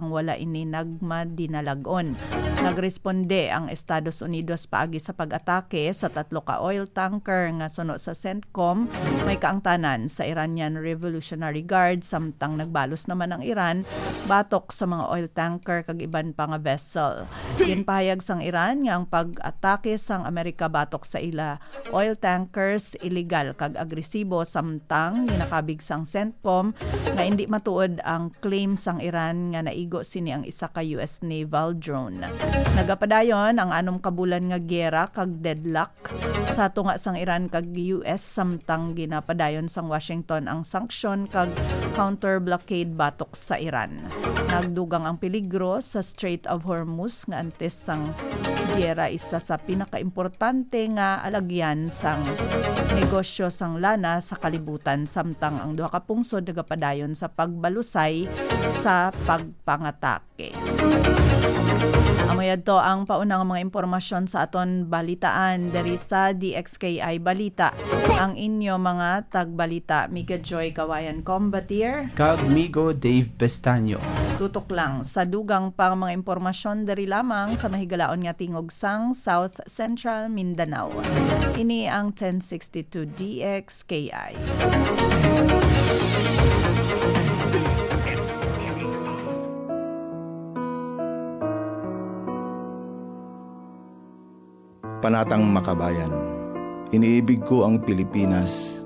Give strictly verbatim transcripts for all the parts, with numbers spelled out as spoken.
wala ini nagmadinalag-on. Nagresponde ang Estados Unidos paagi sa pag-atake sa tatlo ka oil tanker nga suno sa CENTCOM may kaangtanan sa Iranian Revolutionary Guard, samtang nagbalos naman ang Iran batok sa mga oil tanker kag iban pa nga vessel. Ginpahayag sang Iran nga ang pag-atake sang Amerika batok sa ila oil tankers illegal kag agresibo, samtang ginakabig sang CENTCOM nga indi matuod ang claim sang Iran nga naigo sini ang isa ka U S naval drone. Nagapadayon ang anom ka bulan nga giyera kag deadlock sa tunga sang Iran kag U S, samtang ginapadayon sang Washington ang sanksyon kag counter blockade batok sa Iran. Nagdugang ang peligro sa Strait of Hormuz nga antes sang giyera isa sa pinakaimportante nga alagyan sang negosyo sang lana sa kalibutan, samtang ang duha ka pungsod nagapadayon sa pagbalusay sa pagpangatake. Amo yadto ang pauna nga mga impormasyon sa aton balitaan diri sa D X K I Balita. Ang inyo mga tagbalita, Miga Joy Kawayan Combatier. Kag Migo Dave Pestaño. Tutok lang sa dugang pang mga impormasyon diri lamang sa mahigalaon nga tingog sang South Central Mindanao. Ini ang ten sixty-two D X K I. Panatang Makabayan. Iniibig ko ang Pilipinas,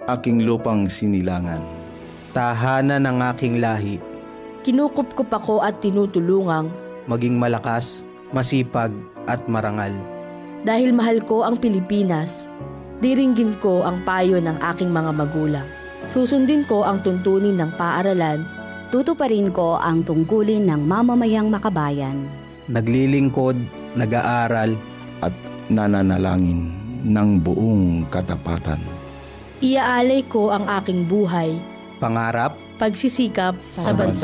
aking lupang sinilangan. Tahanan ng aking lahi. Kinukupkop ako at tinutulungang maging malakas, masipag, at marangal. Dahil mahal ko ang Pilipinas, diringgin ko ang payo ng aking mga magulang. Susundin ko ang tuntunin ng paaralan. Tutuparin ko ang tungkulin ng mamamayang makabayan. Naglilingkod, nag-aaral, at nananalangin ng buong katapatan. Iaalay ko ang aking buhay, pangarap, pagsisikap sa bansa.